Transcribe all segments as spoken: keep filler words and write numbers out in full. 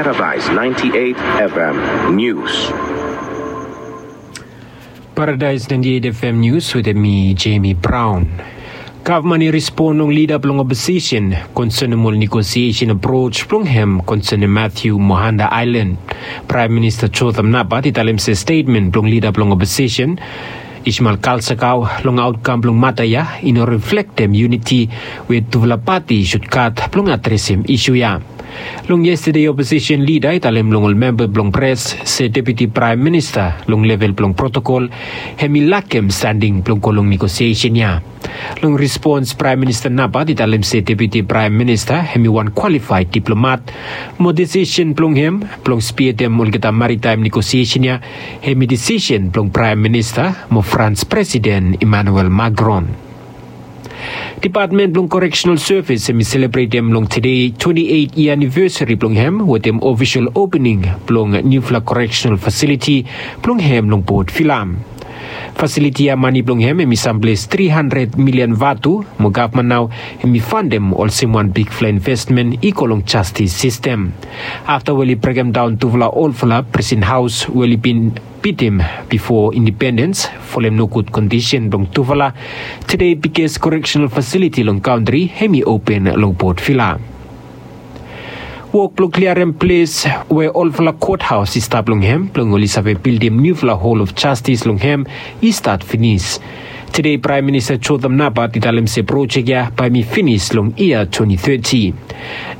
Paradise ninety-eight F M News. Paradise ninety-eight F M News wetem mi, Jamie Brown. Gavman i respon long lida blong oposisen konsenem ol negosiesen aproj blong hem konsenem Matthew mo Hunter Island. Praem Minista Jotham Napat i talem se stetmen blong lida blong oposisen Ishmael Kalsakau long aotkam blong mata ya i no reflektem yuniti we tufala pati i sud gat blong adresem isu ya. Long yestade oposisen lida i talem long ol memba blong pres se Deputi Praem Minista long level blong protokol hem i lakem stending blong go long negosiesen ya. Long respons Praem Minista Napat i talem se Deputi Praem Minista hem i wan kwalifaed diplomat mo desisen blong hem blong spietem olgeta maritaem negosiesen ya hem i desisen blong Praem Minista mo Frans Presiden Emmanuel Macron. Depatmen blong Koreksenal Sevis hem i selebretem long tede twenti eit yia anivesari blong hem wetem ofisol opening blong niufala koreksenal fasiliti blong hem long Port Vila. Fasiliti ya mane blong hem hem i samples tri handred milian vatu mo gavman nao hem i fandem olsem wan bigfala investmen i go long jastis sistem. Afta we oli brekemdaon tufala olfala presen haos we oli bin bitim bifo indipendens folem nogud kondisen blong tufala, tede biges koreksenal fasiliti long kantri hem i open long Port Vila. Wok blong kliarem ples we olfala kothaos i stap long hem blong oli save bildim niufala Hall of Justice long hem i stat finis. Tede Praem Minista Jotham Napat i talem se projek ya bae hem i finis long yia twenti teti.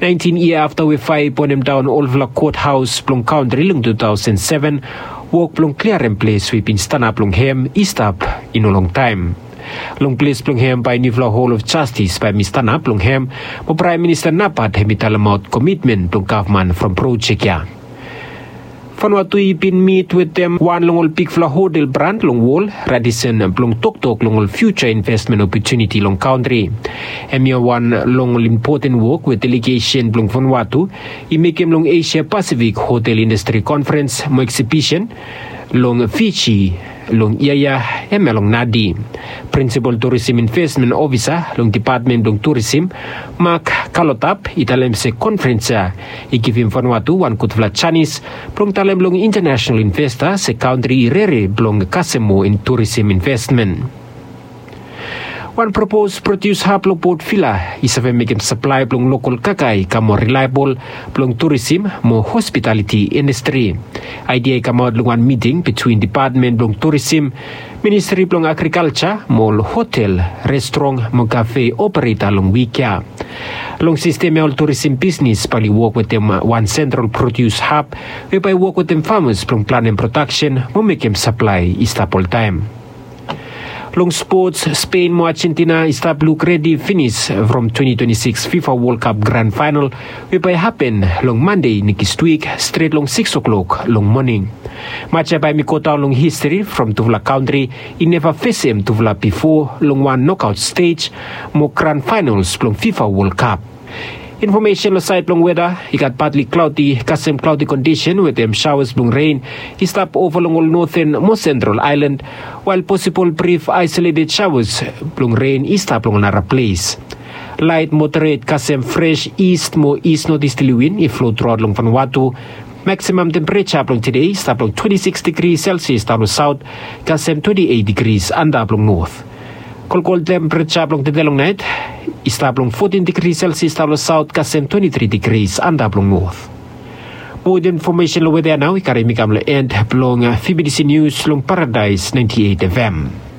Naentin yia afta we faea i bonemdaon olfala kothaos blong kantri long tu taosen seven, wok blong kliarem ples we i bin stanap long hem i stap i no longtaem. Long ples blong hem bae niufala Hall of Justice bae hem i stanap long hem, mo Praem Minista Napat hem i talemaot komitmen blong gavman from projek ya. Vanuatu i bin mit wetem wan long ol bigfala hotel brand long wol, Radisson, blong toktok long ol fiuja investmen opotuniti long kantri. Hemia wan long ol impoten wok we delegesen blong Vanuatu i mekem long Asia Pasifik Hotel Indastri Konferens mo Eksibisen long Fiji long yia ya, hemia long Nadi. Prinsipol Turisim Investmen Ofisa long Depatmen blong Turisim, Mark Kalotap, i talem se konferens ya i givim Vanuatu wan gudfala janis blong talem long intanesenal investa se kantri i rere blong kasem moa turisim investmen. Wan propos prodius hab long Port Vila i save mekem saplae blong lokol kakae i kam moa rilaebol blong turisim mo hospitaliti indastri. Aedia i kamaot long wan miting bitwin Depatmen blong Turisim, Ministri blong Agrikalja mo ol hotel, restrong mo kafe opereta long wik ya. Long sistem ya ol turisim bisnis bae oli wok wetem wan sentral prodius hab we bae i wok wetem famas blong planem prodaksen mo mekem saplae i stap oltaem. Long spots, Spen mo Ajentina i stap luk redi finis from twenti twenti sikis FIFA Wol Kap gran faenal we bae i hapen long Mande nekswik stret long sikis oklok long moning. Match ya bae hem i godaon long histri from tufala kantri i neva fesem tufala bifo long wan nokaot stej mo gran faenals blong FIFA Wol Kap. Infomesen long saed blong weda, i gat patli klaoti kasem klaoti kondisen wetem saoas blong ren i stap ova long ol noten mo sentral aelan, wael posibol brif aesoleted saoas blong ren i stap long ol nara ples. Laet moderet kasem fres ist mo ist notesterli win i flo truaot long Vanuatu. Maksimam tempereja blong tede i stap long twenti sikis digri selsias daon long saot kasem twenti eit digris antap long not. Kolkol tempereja blong tede long naet i stap long fotin digri selsias daon long saot kasem twenti tri digris antap long not. Moa infomesen long weda ya nao i karem mi kam long en blong VBTC Nius long Paradaes naenti eit FM.